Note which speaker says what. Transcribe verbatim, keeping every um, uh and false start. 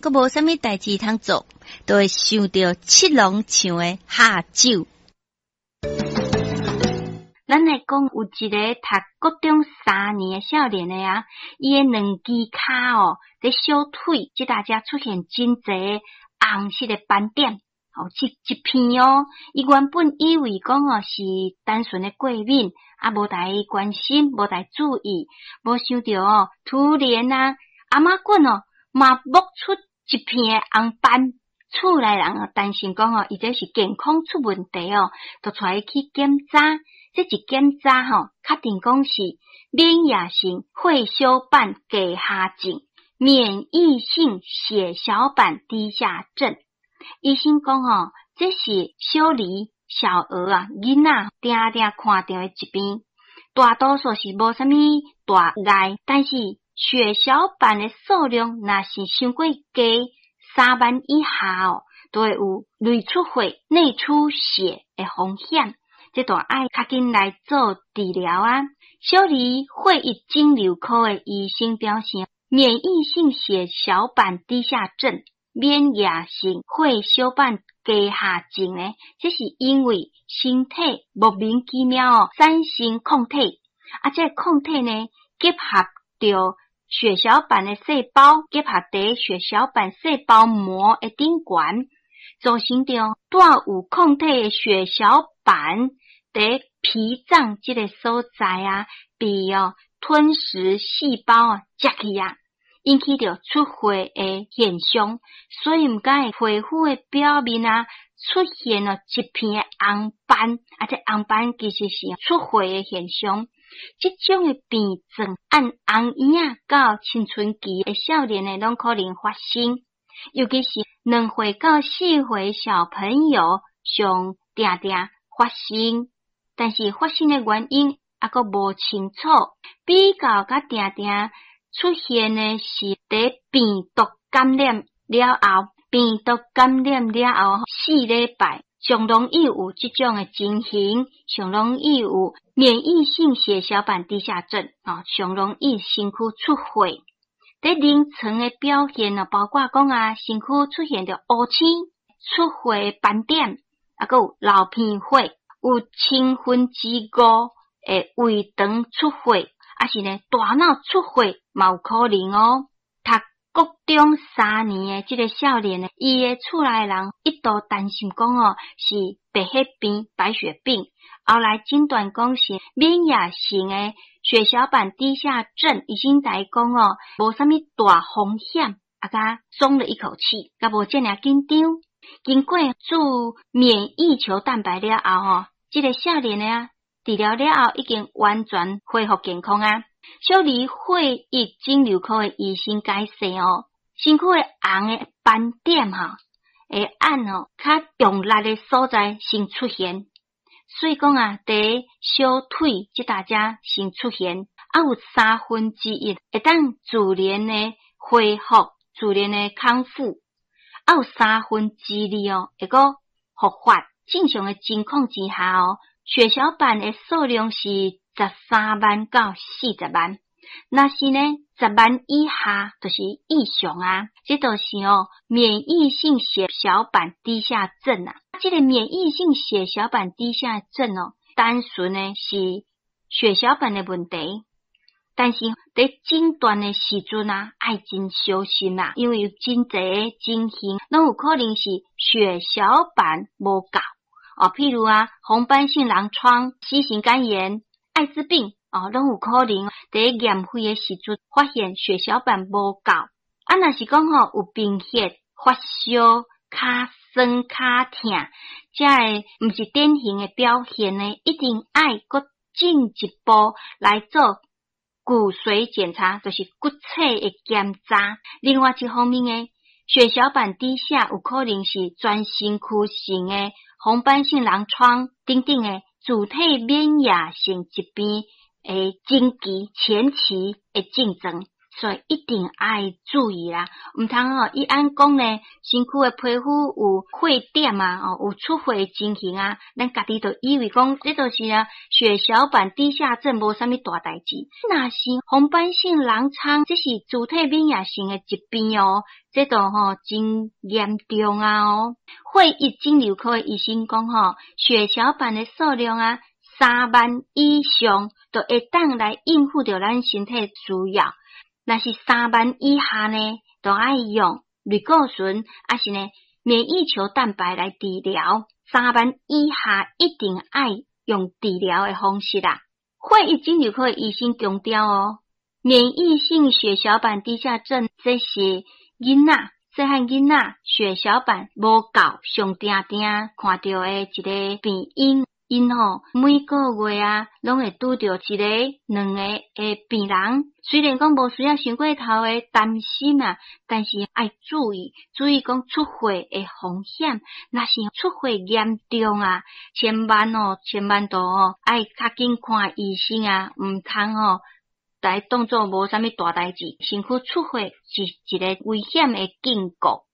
Speaker 1: 閣無啥物代誌通做，就會想著七龍像的下酒。咱來講有一个讀國中三年的少年的啊，伊的兩支跤哦，佇小腿這搭遮出現真濟紅色的斑點，哦，一一片哦。伊原本以為講哦是單純的過敏，啊，無台關心，無台注意，無想著哦，突然啊，頷仔骨哦嘛冒出一片的紅斑。厝內人哦擔心講哦，伊這是健康出問題哦，就帶伊去檢查。這一檢查吼，確定講是免疫性血小板低下症，免疫性血小板低下症。醫生講吼，這是小兒小兒啊囡仔定定看著的疾病，大多數是無啥物大礙，但是血小板的數量若是傷過低，三萬以下哦，就會有內出血、內出血的風險。這就愛較緊來做治療啊！小兒血液腫瘤科的醫生表示，免疫性血小板低下症、免疫性血小板低下症呢，這是因為身體莫名其妙哦產生抗體，啊，這個抗體呢結合著血小板的細胞，結合佇血小板細胞膜的頂懸，造成著帶有抗體的血小板佇脾臟這个所在啊，被哦吞噬細胞啊食去啊，引起著出血的現象，所以毋敢會皮膚的表面啊出現了一片的紅斑，啊，這紅斑其實是出血的現象。這種的病症按紅嬰仔到青春期的少年的攏可能發生，尤其是兩歲到四歲小朋友上定定發生。但是發生的原因猶閣無清楚，比較較定定出現的是佇病毒感染了後，病毒感染了後四禮拜，上容易有這種的情形，上容易有免疫性血小板低下症，哦，上容易身軀出血。佇臨床的表現哦，包括講啊，身軀出現著烏青、出血斑點，猶閣有流鼻血。有千分之五的胃腸出血，抑是呢大腦出血嘛有可能哦。讀國中三年的這个少年呢，伊的厝內人一度擔心講哦是白血病、白血病，後來診斷講是免疫性的血小板低下症，醫生共伊講哦，無啥物大風險，啊，才鬆了一口氣，較無遮爾緊張。經過注免疫球蛋白了後吼，這个少年的啊，治療了後已經完全恢復健康啊。小兒血液腫瘤科的醫生解釋哦，身軀的紅的斑點吼，會按吼較用力的所在先出現，所以講啊，佇小腿這搭遮先出現，啊有三分之一會當自然的恢復，自然的康復。啊有三分之二哦，會閣復發。正常的情況之下哦，血小板的數量是十三萬到四十萬。若是呢，十萬以下就是異常啊。這就是哦，免疫性血小板低下症啊。這个免疫性血小板低下症哦，單純的是血小板的問題。但是佇診斷的時陣啊，愛真小心啊，因為有真濟情形，攏有可能是血小板無夠哦。譬如啊，紅斑性狼瘡、C 型肝炎、艾滋病哦，攏有可能佇驗血的時陣發現血小板無夠。啊，若是講吼有貧血、發燒、跤酸、跤疼，這个毋是典型的表現呢，一定愛閣進一步來做骨髓檢查，就是骨髓的檢查。另外一方面呢，血小板低下有可能是全身軀性的紅斑性狼瘡等等的自體免疫性疾病的前期前期的症狀。所以一定愛注意啦，毋通吼伊按講呢，身軀的皮膚有血點啊，哦有出血的情形啊，咱家己就以為講這就是啊血小板低下症，無啥物大代誌。若是紅斑性狼瘡，這是自體免疫性的疾病哦，這都吼真嚴重啊哦。血液腫瘤科的醫生講吼，血小板的數量啊三萬以上，就會當來應付著咱身體需要。若是三萬以下呢，就愛用類固醇，抑是呢免疫球蛋白來治療。三萬以下一定愛用治療的方式啦。血液腫瘤科的醫生強調哦，免疫性血小板低下症，這是囡仔細漢囡仔血小板無夠，上定定看著的一个病因。𪜶吼每個月啊，攏會拄著一个、兩个的病人。雖然講無需要傷過頭的擔心啊，但是愛注意，注意講出血的風險。若是出血嚴重啊，千萬哦，千萬都哦，愛較緊看醫生啊，毋通吼來當做無啥物大代誌，身軀出血是一个危險的警告。